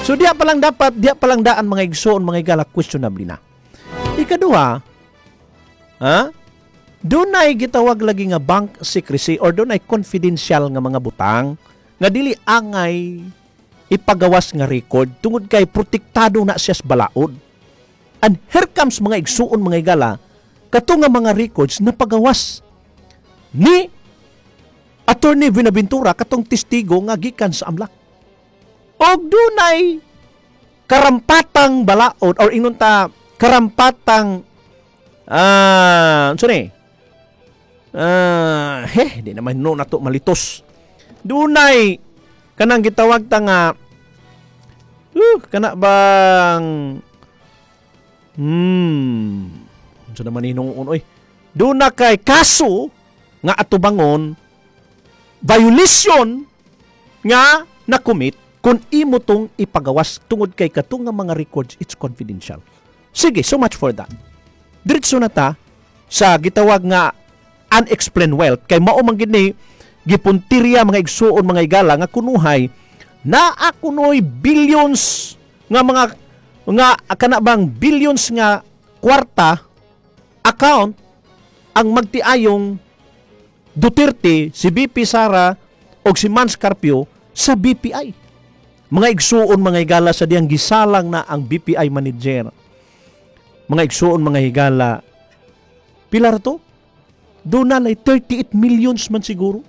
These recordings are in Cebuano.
So diya pa lang dapat, diya pa lang daan, mga igsoon, mga igala, questionable na. Ikaduha, ha? Dunay gitawag lagi nga bank secrecy or dunay confidential nga mga butang nga dili angay ipagawas nga record tungod kay protektado na siya sa balaod. And here comes, mga igsuon, mga igala, kato nga mga records na pagawas ni Attorney Buenaventura, katong testigo nga gikan sa AMLC. Og dunay karampatang balaod or ingon ta karampatang unsa ni? He, di naman no nato malitos. Dunay kanang gitawag ta nga kana bang unsa naman hinuon oy. Duna kay kaso nga atubangon violation nga na-commit kung imo tong ipagawas tungod kay katong nga mga records, it's confidential. Sige, so much for that. Diretso na ta sa gitawag nga unexplained wealth kay mao man gid ni gipuntirya, mga igsuon, mga igala, nga kunuhay naa kunoy billions nga mga nga kana bang billions nga kwarta account ang magtiayong Duterte, si BP Sara o si Mans Carpio sa BPI. Mga igsuon, mga higala, sa diyang gisalang na ang BPI manager. Mga igsuon, mga higala, pila ra to? Doon na lay 38 millions man siguro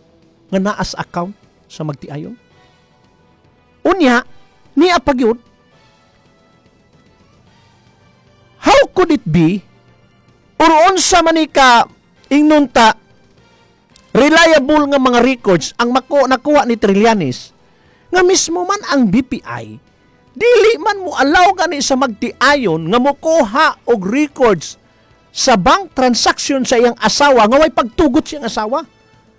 nga naas account sa magtiayon. Unya, niya pa gyud. How could it be or unsa man ni ka ingnon ta reliable nga mga records ang nakuha ni Trillanes nga mismo man ang BPI dili man mo allow gani sa magtiayon nga mokuha og records sa bank transaction sa iyang asawa nga way pagtugot siyang asawa?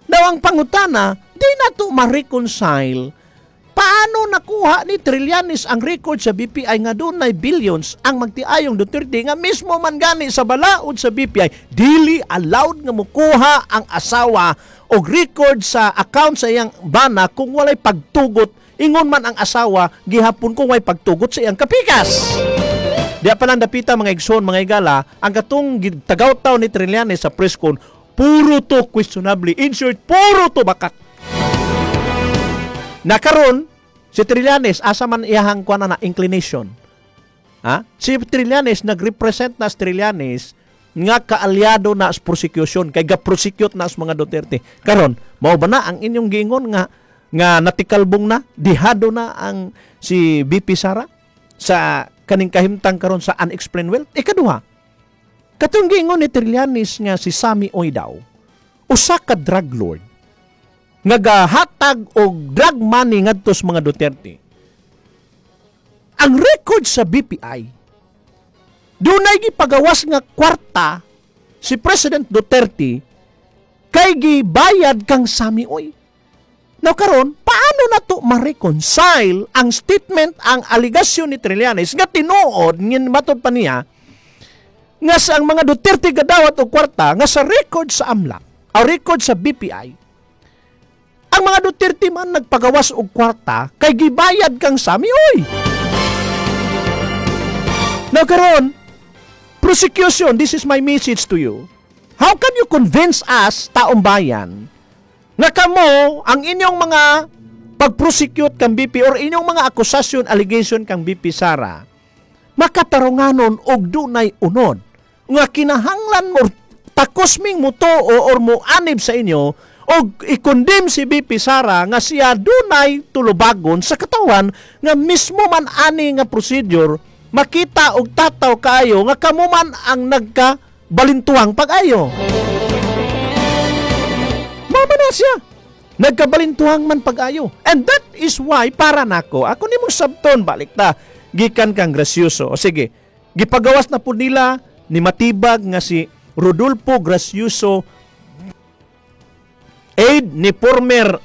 Now, ang pangutana, di na to ma-reconcile paano nakuha ni Trillanes ang record sa BPI nga dunay billions ang magtiayong Duterte nga mismo man gani sa balaod sa BPI dili allowed nga mukuha ang asawa og record sa account sa iyang bana kung walay pagtugot, ingon man ang asawa gihapon kung way pagtugot sa iyang kapikas? Di pa lang dapita, mga igsoon, mga igala, ang katong tagaw-taw ni Trillanes sa press con, puro to questionably. In short, puro to bakak. Nakaron, si Trillanes, asa man iyahang kuan na inclination? Ha? Si Trillanes, nag-represent na si Trillanes nga kaalyado na sa prosecution kay ga-prosecute na sa mga Duterte. Karon, mao ba na ang inyong giingon nga nga natikalbong na, dihado na ang si BP Sara sa kaning kahimtang karon sa unexplained wealth? Ikaduha, katong giingon ni Trillanes nga si Sammy Uy daw, usa ka drug lord nga gahatag og drug money ngadto sa mga Duterte. Ang record sa BPI, dunay gipagawas nga kwarta si President Duterte kay gibayad kang Sammy Uy. Now karon, paano na to ma-reconcile ang statement, ang aligasyon ni Trillanes nga tinuod ngin matod pa niya nga sa ang mga Duterte gadawat og kwarta nga sa record sa AMLC, ang record sa BPI, ang mga Duterte man nagpagawas og kwarta kay gibayad kang Sammy Uy? Now karon, prosecution, this is my message to you. How can you convince us, taong bayan, nga kamo, ang inyong mga pag-prosecute kang BP or inyong mga akusasyon, allegation kang BP Sara, makatarunganon og dunay unod nga kinahanglan mo takos ming mutuo or mo anib sa inyo og i-condemn si BP Sara nga siya dunay tulubagon sa katawan, nga mismo man ani nga procedure makita og tataw kaayo nga kamo man ang nagka balintuang pag-ayo? Mama na siya. Nagkabalintuhang man pag-ayo. And that is why, para nako, ako nimong sabton, balik ta, gikan kang Gracioso. O sige, gipagawas na po nila ni matibag nga si Rodolfo Gracioso, aide ni former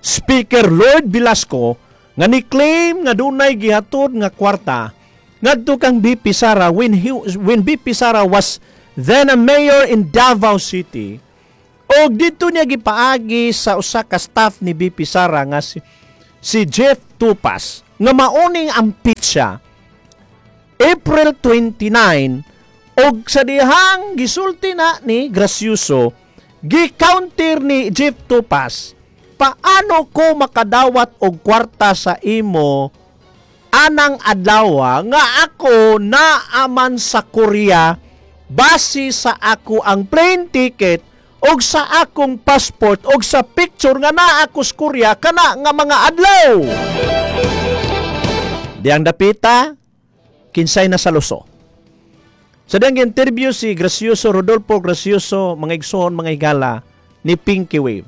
Speaker Lord Velasco, nga ni-claim nga dunay gihatod nga kwarta ngadto kang BP Sara when BP Sara was then a mayor in Davao City, og dito niya gipaagi sa usa ka staff ni BP Sara nga si Jeff Tupas. Nga mauning ang pitsa April 29, og sa dihang gisulti na ni Gracioso, gi-counter ni Jeff Tupas, "Paano ko makadawat og kwarta sa imo anang adlaw nga ako naaman sa Korea base sa ako ang plane ticket og sa akong passport og sa picture nga naa ako sa Korea kana nga mga adlaw?" Diyang dapita, kinsay na saluso? Sa diyang interview si Gracioso, Rodolfo Gracioso, mga igsoon, mga higala, ni Pinky Wave.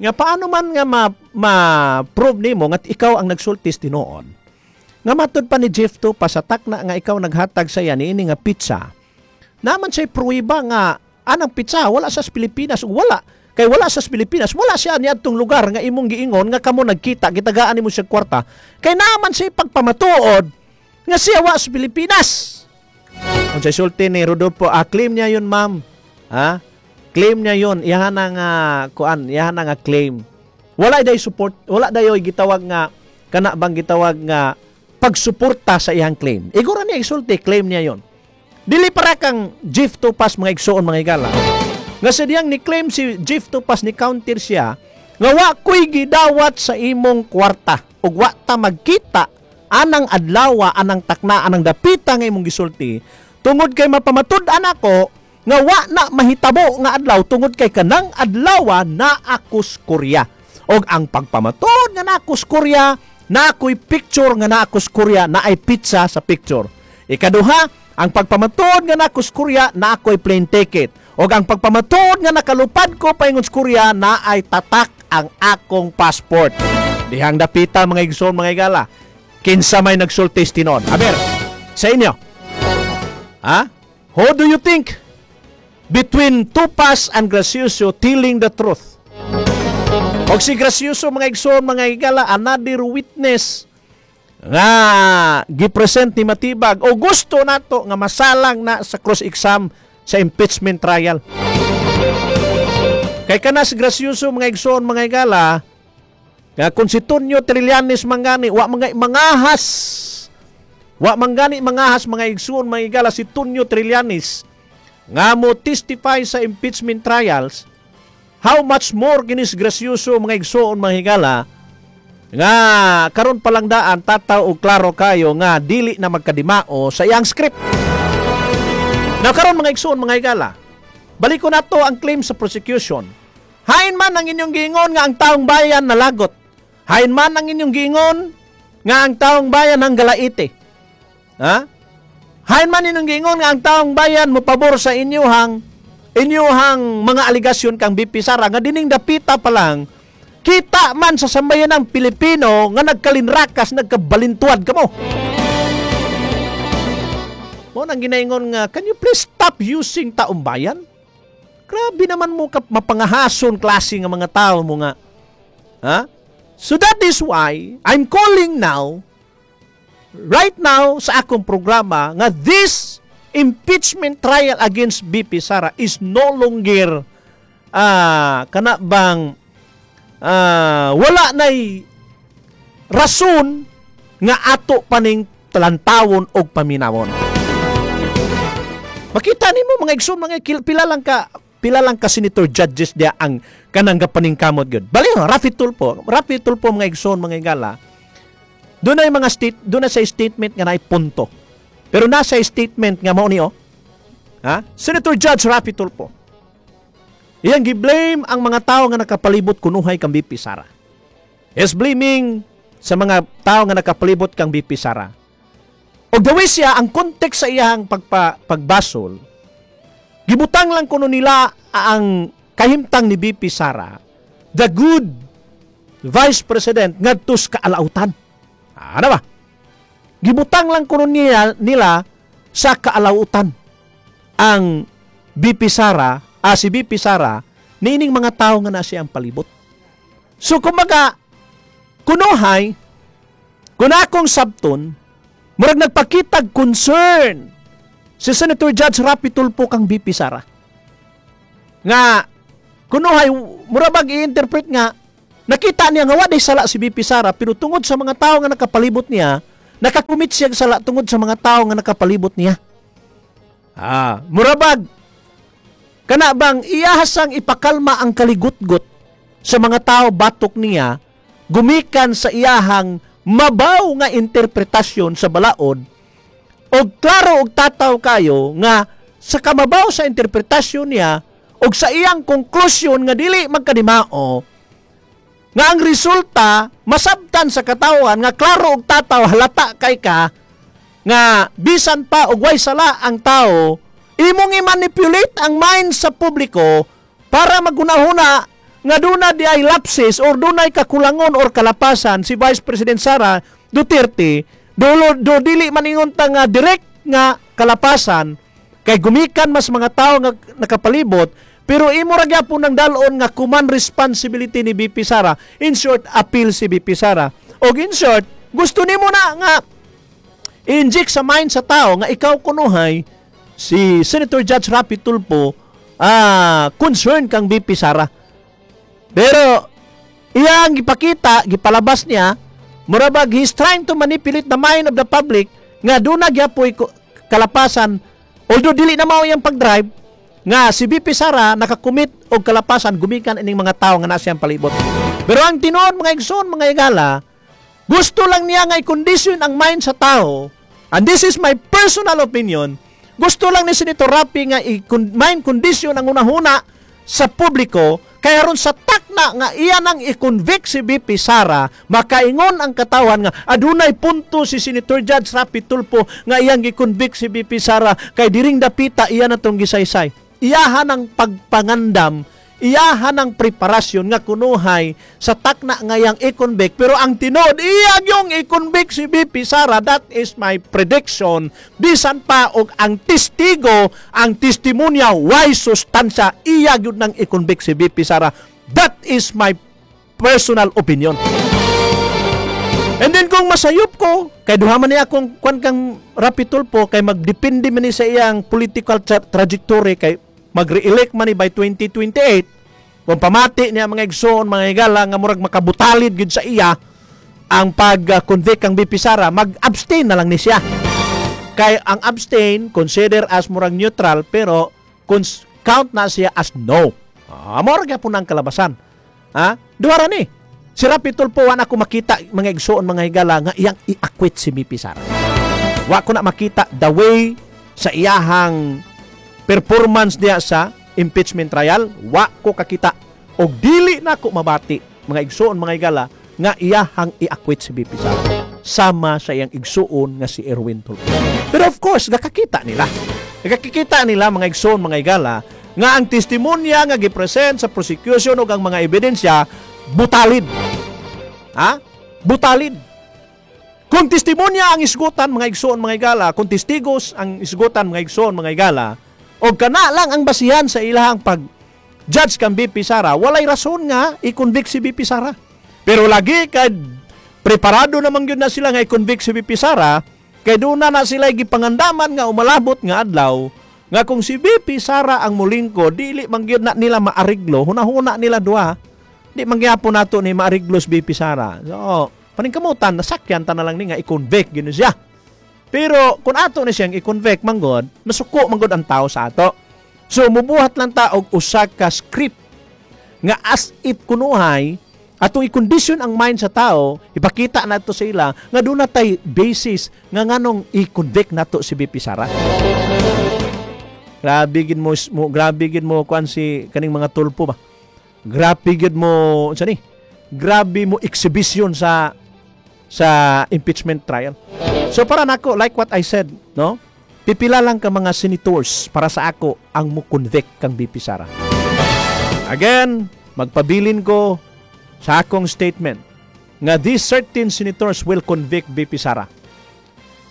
Nga paano man nga ma-prove nimo nga ikaw ang nagsultis tinuod? Nga matud pa ni Jeff to pa sa takna nga ikaw naghatag sa iya niini nga pizza. Naman siya pruweba nga anang pizza wala sa Pilipinas, wala kay wala sa Pilipinas, wala siya niadtong lugar nga imong giingon nga kamo nagkita, gitagaan nimo siya kwarta, kay naman siya pagpamatuod nga siya wa sa Pilipinas. Unsay sulti ni Rodolfo? "Ah, claim niya yun, ma'am." Ha? Claim niya yun. Iyahan na nga kuan, iyahan na nga claim. Wala day support, wala dayoy gitawag nga kana bang gitawag nga pagsuporta sa iyang claim. Igora niya isulti, claim niya yon. Dili para kang Jeff Tupas, mga igsoon, mga higala. Nga sa diyang ni claim si Jeff Tupas, ni counter siya nga wa ko'y gidawat sa imong kwarta ug wa ta magkita anang adlawa, anang takna, anang dapita nga imong gisulti, tungod kay mapamatud-an ako nga wa na mahitabo nga adlaw tungod kay kanang adlawa na ako sa Korea. Og ang pagpamatuod nga na ako sa Korea, na ako'y picture nga na ako sa Korea, na ay pizza sa picture. Ikaduha, ang pagpamatuod nga na ako sa Korea, na ako'y plane ticket. Og ang pagpamatuod nga nakalupad ko paingon sa Korea, na ay tatak ang akong passport. Dihang dapita, mga igsoon, mga higala, kinsa may nagsultis tinuod? Aber, sa inyo. Ha? Who do you think between Tupas and Gracioso telling the truth? Og si Gracioso, mga igsoon, mga higala, another witness nga gipresent ni Matibag o gusto nato nga masalang na sa cross-exam sa impeachment trial. Kay kana si Gracioso, mga igsoon, mga higala, nga kung si Tonyo Trillanes mangani wa mga mangahas, wa mangani mangahas, mga igsoon, mga higala, si Tonyo Trillanes nga mo testify sa impeachment trials, how much more kinis Gracioso, mga igsoon, mga higala, nga karon pa lang daan tataw og klaro kayo nga dili na magkadimao sa iyang script. Na karon, mga igsoon, mga higala, balik ko nato ang claim sa prosecution. Hain man ang inyong giingon nga ang taong bayan nalagot. Hain man ang inyong giingon nga ang taong bayan ang galaite. Ha? Hain man inyong giingon nga ang taong bayan mopabor sa inyuhang mga aligasyon kang BP Sara, nga dining dapita pa lang kita man sa sambayan ng Pilipino nga nagkalinrakas, nagkabalintuad kamo. Mo nang ginaingon nga, can you please stop using taong bayan? Grabe naman mo ka mapangahason klase nga mga tao mo nga. Ha? So that is why I'm calling now, right now sa akong programa, nga this impeachment trial against BP Sara is no longer kana bang wala nay rason nga ato paning talantawon og paminawon. Makita nimo, mga igsoon, mga pila lang ka senator judges dia ang kanang gapaningkamot gyud. Bali Raffy Tulfo, Raffy Tulfo, mga igsoon, mga higala. Doon ay mga state, doon na sa statement nga naay punto. Pero nasa statement nga mao ni oh. Ha? Senator Judge Raffy Tulfo. Iyang gi-blame ang mga tao nga nakapalibot kunuhay kang BP Sara. Is blaming sa mga tao nga nakapalibot kang BP Sara. Og gawi siya ang context sa iyang pagbasol. Gibutang lang kuno nila ang kahimtang ni BP Sara, the good Vice President, ngadto sa kaalautan. Ano ba? Gibutang lang kuno nila sa kaalautan ang BP Sara, si BP Sara, niining mga tao nga na siyang palibot. So kumbaga, kunuhay, kung akong sabton, murag nagpakitag concern si Senator Judge Raffy Tulfo kang BP Sara. Nga, kunuhay, mura bag i-interpret nga, Nakita niya nga wa day sala si BP Sara, pero tungod sa mga tao nga nakapalibot niya, nakakumit siya og sala tungod sa mga tao nga nakapalibot niya. Murabag kana bang iyahasang ipakalma ang kaligutgot sa mga tao batok niya gumikan sa iyahang mabaw nga interpretasyon sa balaod, og klaro og tataw kayo nga sa kamabaw sa interpretasyon niya og sa iyang konklusyon nga dili magkadimao nga ang resulta masabtan sa katawan nga klaro og tataw, halata kay ka nga bisan pa og way sala ang tao, imong i-manipulate ang mind sa publiko para maghunahuna nga duna di ay lapses or dunay kakulangon or kalapasan si Vice President Sara Duterte. Dulo do dili maningon ta nga direct nga kalapasan kay gumikan mas mga tao nga nakapalibot, pero imo ra gyapon ng dalon nga command responsibility ni BP Sara. In short, appeal si BP Sara. Og in short, gusto nimo na nga i-inject sa mind sa tao nga ikaw kunuhay si Senator Judge Rapi Tulfo, concern kang BP Sara. Pero iyang gipakita, gipalabas niya, murabag he's trying to manipulate the mind of the public nga duna gyapoy kalapasan, although dili na mao iyang pag-drive, nga si BP Sara nakakumit og kalapasan gumikan ining mga tao nga nasa iyang palibot. Pero ang tinuod, mga igsoon, mga igala, gusto lang niya nga i-condition ang mind sa tao, and this is my personal opinion, gusto lang ni Senator Rapi nga i-mind condition ang unahuna sa publiko, kaya ron sa takna nga iya nang i-convict si BP Sara, makaingon ang katawan nga adunay punto si Senator Judge Rapi Tulfo nga iyang gi-convict si BP Sara kay diring dapita iya na tong gisaysay. Iyahan ang pagpangandam, iyahan ang preparasyon nga kunuhay sa takna nga iyang i-convict, pero ang tinuod, iya yung i-convict si BP Sara. That is my prediction. Bisan pa og ang testigo, ang testimonya way sustansya, iya gyud nang i-convict si BP Sara. That is my personal opinion. And then kung masayop ko, kay duha man niya akong kwan kang Rapi Tulfo, kay magdepende man ni sa iyang political trajectory kay mag-re-elect man ni by 2028. Kung pamati niya, mga igsoon, mga higala, nga murag makabutalid gyud sa iya ang pag-convict kang BP Sara, mag-abstain na lang ni siya. Kay ang abstain consider as murag neutral, pero count na siya as no. Mao ra gyapon ang kalabasan. Ha? Duha ra ni. Si Rapi Tulfo, wa na ako makita, mga igsoon, mga higala, nga iyang i-acquit si BP Sara. Wa ko na makita the way sa iyahang performance niya sa impeachment trial, wa ko kakita og dili na ko mabati, mga igsoon, mga higala, nga iyahang i-acquit si BP Sara sama sa iyang igsuon nga si Erwin Tulfo. Pero of course, gakakita nila. Gakakita nila, mga igsoon, mga higala, nga ang testimonya nga gipresent sa prosecution ug ang mga ebidensya butalid. Ha? Butalid. Kung testimonya ang isgutan, mga igsoon, mga higala, kung testigos ang isgutan, mga igsoon, mga higala, o kana lang ang basihan sa ilahang pag judge kang BP Sara, walay rason nga i-convict si BP Sara. Pero lagi kay preparado naman gyud na sila nga i-convict si BP Sara, kay doon na na sila gipangandaman nga umalabot nga adlaw nga kung si BP Sara ang mulingko, dili man gyud na nila maariglo, hunahuna nila duha. Di man gyapon nato ni maariglo si BP Sara. So, paningkamutan, nasakyan ta na lang ni nga i-convict gyud siya. Pero kung ato ni siyang i-convict manggod, masuko manggod ang tao sa ato. So mubuhat lang ta og usa ka script nga as if kunuhay atong i-condition ang mind sa tao, ipakita nato sa ila nga doon na tay basis nga nganong i-convict nato si BP Sara. Grabe gid mo, grabe gid mo kuan si kaning mga Tulfo ba. Grabe gid mo unsa ni? Grabe mo exhibition sa impeachment trial. So para nako, like what I said, no? Pipila lang ka mga senators para sa ako ang mo convict kang BP Sara. Again, magpabilin ko sa akong statement nga these certain senators will convict BP Sara.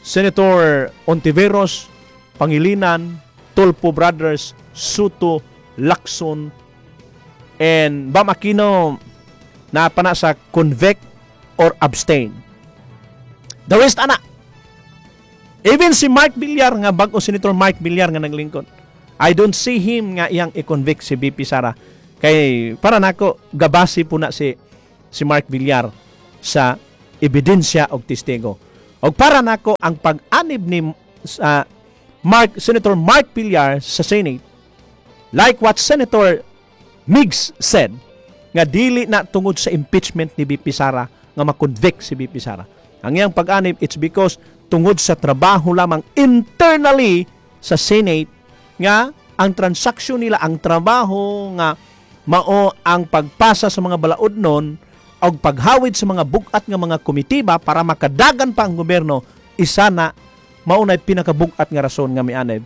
Senator Hontiveros, Pangilinan, Tulfo Brothers, Sotto, Lacson, and Bam Aquino na pa na sa convict or abstain. The rest ana. Even si Mark Villar nga bag-o, Senator Mark Villar nga naglingkod, I don't see him nga iyang i-convict si BP Sara. Kay para nako gabasi po na si si Mark Villar sa ebidensya og testigo. Og para nako, ang pag-anib ni Mark Senator Mark Villar sa Senate, like what Senator Migs said, nga dili na tungod sa impeachment ni VP Sara nga ma-convict si VP Sara. Ang iyang pag-anib, it's because tungod sa trabaho lamang internally sa Senate nga ang transaksyon nila, ang trabaho nga mao ang pagpasa sa mga balaod nun o paghawid sa mga bugat nga mga komitiba para makadagan pa ang gobyerno, isa na mao na'y pinakabugat nga rason nga mianib.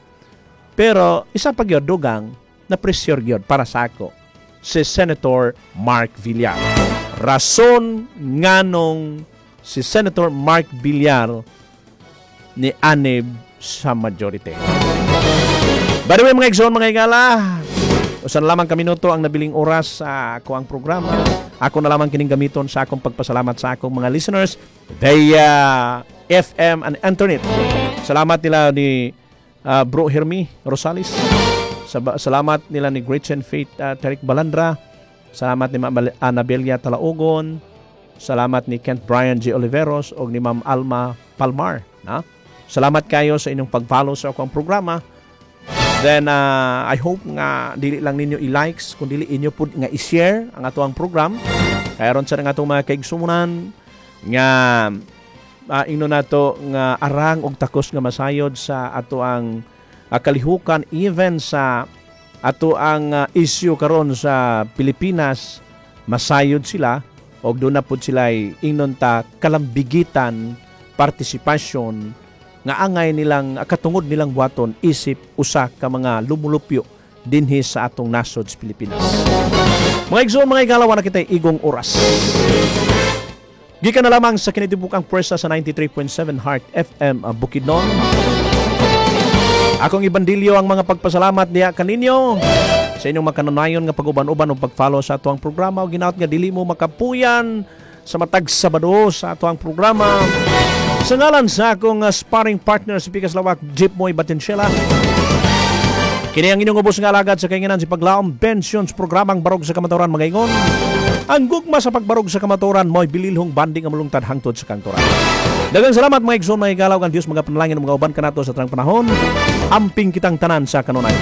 Pero isa pa gyud, dugang na pressure gyud para sa ako si Senator Mark Villar. Rason nganong si Senator Mark Villar ni anib sa majority. By the way, mga igsoon, mga higala, usa na lamang ka minuto ang nabiling oras sa ako ang programa. Ako na lamang kining gamiton sa akong pagpasalamat sa akong mga listeners via FM and internet. Salamat nila ni Bro Hermie Rosales. Salamat nila ni Gretchen Faith Terik Balandra. Salamat ni Ma'am Anabelia Talaogon. Salamat ni Kent Brian G. Oliveros o ni Ma'am Alma Palmar. Na? Salamat kayo sa inyong pag-follow sa akong programa. Then I hope nga dili lang ninyo i-likes kun dili inyo pud nga i-share ang atoang program. Kaya ron sa nga atong mga kaigsuonan nga ingno nato nga arang og takos nga masayod sa ato ang kalihukan, even sa ato ang issue karon sa Pilipinas, masayod sila og doon na pud sila ingnon ta kalambigitan partisipasyon nga angay nilang katungod nilang buhaton isip usa ka mga lumulupyo dinhi sa atong nasod sa Pilipinas. Mga igsoon, mga higala, na kitay igong oras. Gikan na lamang sa kinitibukang pwersa sa 93.7 Heart FM Bukidnon. Akong ibandilyo ang mga pagpasalamat niya kaninyo sa inyong makanunayon nga pag-uban-uban o pag-follow sa atoang programa o ginaot nga dili mo makapuyan sa matag Sabado sa atoang programa. Sa ngalan sa akong sparring partner sa Pikas Lawak, Jeep Moy Batensyela. Kini ang inyong ubos nga alagad sa kainginan si Paglaom Pensions, programang Barog sa Kamatuoran, mga ingon. Ang gugma sa pagbarog sa kamatuoran mo'y bililhong banding ang mulungtad hangtod sa kangturan. Daghang salamat, mga igsoon, mga higala, ang Dios mga panalangin mga uban kanato sa tanang panahon. Amping kitang tanan sa kanunay.